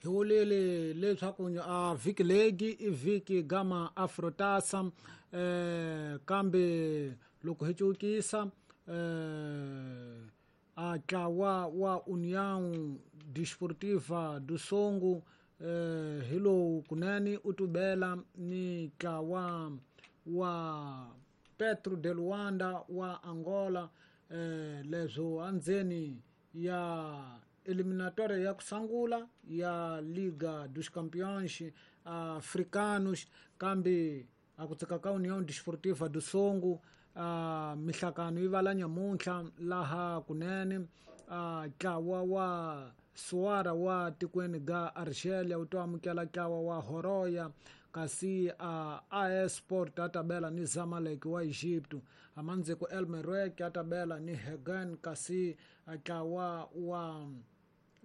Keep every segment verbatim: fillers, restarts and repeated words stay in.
Hi vulile leswaku a vhiki legi i vhiki gama Afrotasa eh kambe loko hi cukisa eh a ntlawa wa União Desportiva do Songo eh hi lowu kunene u tubela ni ntlawa wa Petro de Luanda wa Angola eh leswo andzeni ya eliminatória ya kusangula ya Liga dos Campeões Africanos kambe a ku tsaka ka União Desportiva do Songo a mihlakano yi vala nyamuntlha laha kunene a ntlawa wa Suara wa tikweni ga Argelia wu to amukela ntlawa wa Horoya kasi a AS Sport a tabela ni Zamalek wa Egypt amandziko El Merreikh a tabela ni Hagen kasi ntlawa wa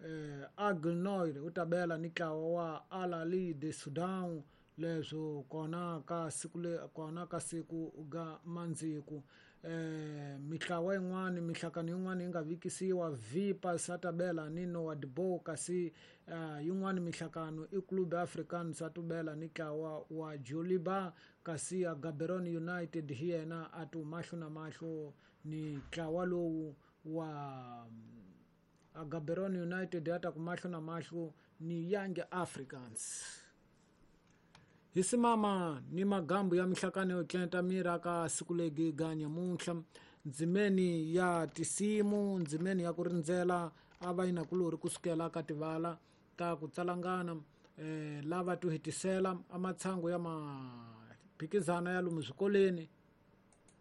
eh, Aglnoir u tabela ni ntlawa wa Al Ahly de Sudan leswo kona ka siku le kona ka siku ga mandziku eh mitlawa yin'wana mihlakano yin'wana yi nga vikisiwa Vipa Satabela ni Nouadhibou kasi uh, yin'wana mihlakano i Club African Satubela ni ntlawa wa Joliba kasi ya Gaborone United hi yena a tu mahlo na mahlo ni ntlawa lowu wa a Gaborone United ya ta ku mahlo na mahlo ni Young Africans. Hi simama ni magambu ya mihlakano yo tlenta mira ka siku legi ga nyamuntlha ndzimeni ya tisimu ndzimeni ya ku rindzela a va yinakulori kusukela ka tivala ta ku tsalangana eh lava tu hetisela amatshango ya maphikizana ya lomu swikolweni